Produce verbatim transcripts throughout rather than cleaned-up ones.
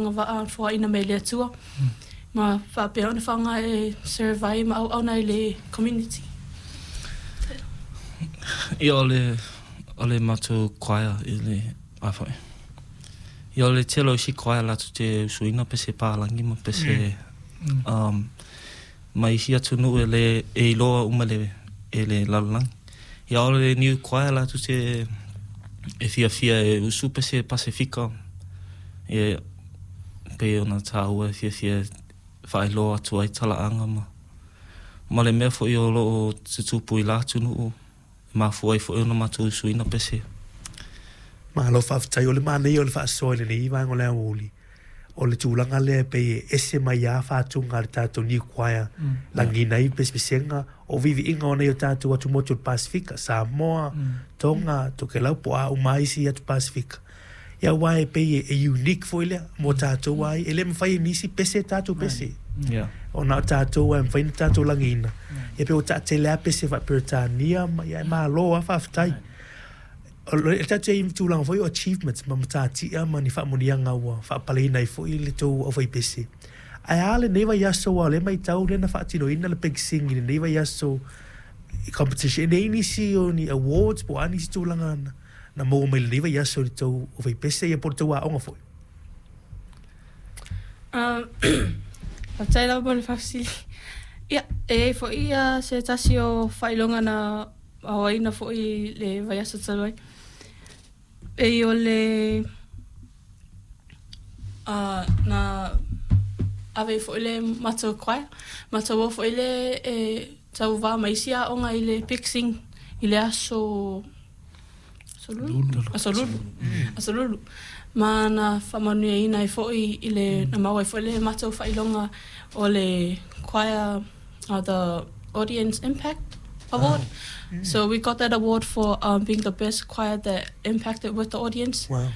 Agavaa foaina mai le Atua ma faapea ona faaaoga e serve ai ma auauna i le community. Ia o le o le matou choir i le a foi. Ia o le tele o isi choir latou te usuina pese palagi ma pese mm. um, ma isi atunuu e le e iloa uma le e le lalolagi. Ia o le Niu Choir latou te e fiafia e usu pese Pasefika e pei ona taua e fiafia e faailoa atu ai talaaga ma ma le mea foi o loo tutupu i la atunuu e mafua ai foi ona matou usuina pese. Malo faafetai. O le manaia o le faasoa i lenei vaega o le aoauli, o le tulaga lea e pei e ese mai lava fatuga a le tatou New Choir, lagiina ai pesepesega o viiviiga o nai o tatou atumotu o le Pasefika, Samoa, Tonga, Tokelau po o a uma lava isi atu Pasefika. Ia aua e pei e unique foi lea mo tatou ai, e le mafai e nisi pese tatou pese. Yeah. Ona o tatou e mafai ona tatou lagiina. Ia pei ua taatele lava pese faa-Peretania ma ia e malo lava faafetai. O le tatou i ai i tulaga foi o achievements ma matatia ma ni faamanuiaga ua faapaleina ai foi le tou aufaipese. Ae a lenei vaiaso aua o lea e matau lea na faatinoina le Big Sing i lenei vaiaso i competition. E leai nisi o ni awards po o a nisi tulaga na na maua mai lenei vaiaso i le tou aufaipese ia po o le tou aoga foi. Um, Faafetai lava mo le faafesili. Ia, e i ai foi ia se tasi o faailoga na aoaina foi i le vaiaso talu ai. Pei o le uh, na ave ai foi le matou choir, matou o foi le e tauvā ma isi aoga i le Big Sing i le aso aso Lulu, aso Lulu, aso Lulu. Ma na faamanuiaina ai foi i le na maua ai foi le matou faailoga o le choir uh, the Audience Impact Award. So we got that award for um, being the best choir that impacted with the audience. Wow.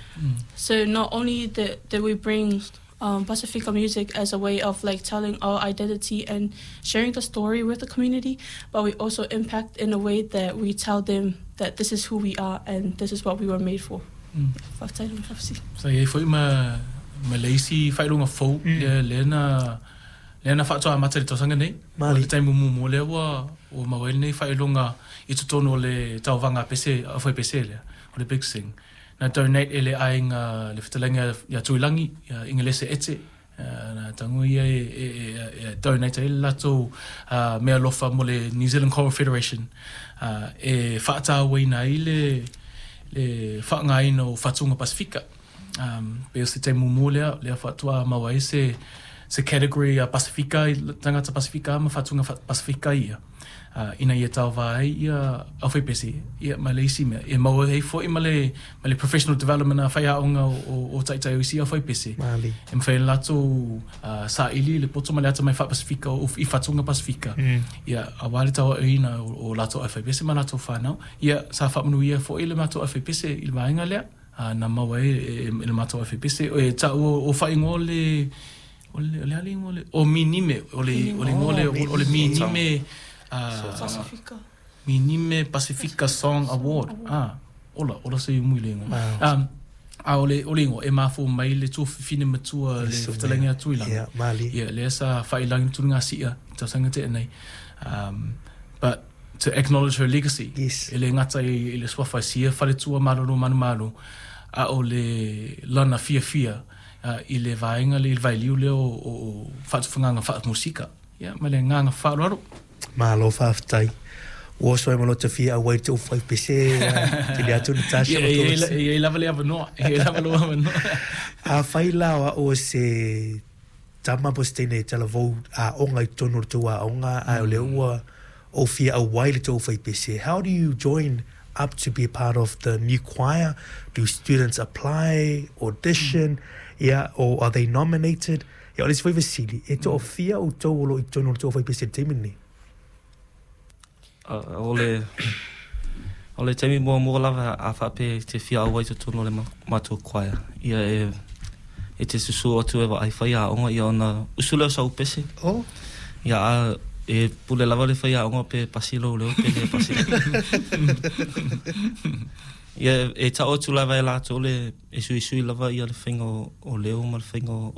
So not only did, did we bring um, Pasifika music as a way of like telling our identity and sharing the story with the community, but we also impact in a way that we tell them that this is who we are and this is what we were made for. Faafetai le faafesili. Sa i ai foi ma ma le isi faailoga fou lea lea na lea na faatoa amata i le tausaga nei. Mali. O le taimi muamua lea ua ua maua ai lenei faailoga i totonu o le tauvaga pese aufaipese lea, o le Big Sing. Na donate e le aiga le fetalaiga ia Tuilagi, ia Ingelese Ete, uh, na tago ia e, e, e, e donate ai le latou uh, meaalofa mo le New Zealand Choral Federation uh, e faatauaina ai le le faaaogaina o fatuga Pasefika. Um, pe o se taimi muamua lea, lea faatoa maua ai se se category a Pasefika, i tagata Pasefika ma fatuga fa- Pasefika ia. Uh, ina ia tauvā ai ia aufaipese ia ma le isi mea. E maua ai foi ma le, ma le professional development a faiaoga o, o, o taitai o isi aufaipese. Mali. E mafai ona latou uh, saili le poto ma le atamai faa-Pasefika o, i fatuga Pasefika. Mm. Ia, auā le tauaoina o, o latou aufaipese ma latou fanau. Ia, sa faamanuia foi le matou aufaipese i le vaega lea. Uh, na maua ai e, e, e le matou aufaipese. E taua o faaigoa le o le o le a le igoa le o Minime o le o le igoa le o le Minime uh, Pasifika. Minime Pasifika Song Award. Ah, ola, ola se mui le ingoa. Wow. Um, a o le, o le ingoa, e mafua mai le tuafafine matua le Susu fetalaiga a Tuilagi. Yeah, mali. Ia, lea sa faailagi tulaga sia, tausaga tea nei. Um, but to acknowledge her legacy, Yes. e le gata i, i le suafa e sia faletua malolo manumalo, a o le lana fiafia uh, i le vaega le i le vailiu lea o, o, o faatufagaga faamusika. Ia, ma le agaga faaaloalo. Malo faafetai. Ua oso ai ma lota fia auai te aufaipese te le atu Natasha Ia, ma e i ai tō la- e i ai lava le avanoa, e i ai lava lou avanoa. Afai la o au o se tama po o se teine e talavou aoga i totonu o le tou aoga ae o lea ua ou fia auai le tou aufaipese. How do you join up to be a part of the new choir? Do students apply, audition, yeah, or are they nominated? Ia, o le isi foi fesili, e toafia outou o lo o i totonu o le tou aufaipese i le taimi lenei? Uh, o le o le taimi muamua lava a faapea e te fia auai i totonu o le ma- matou choir. Ia e e te susu atu e vaai faiaoga ia ona usu lea o sau pese. Oh, Ia a e pule lava le faiaoga pe pasi lou leo pe le pasi. Ia e tao atu lava e latou le e suisui lava ia le faiga o, o leo ma le faiga o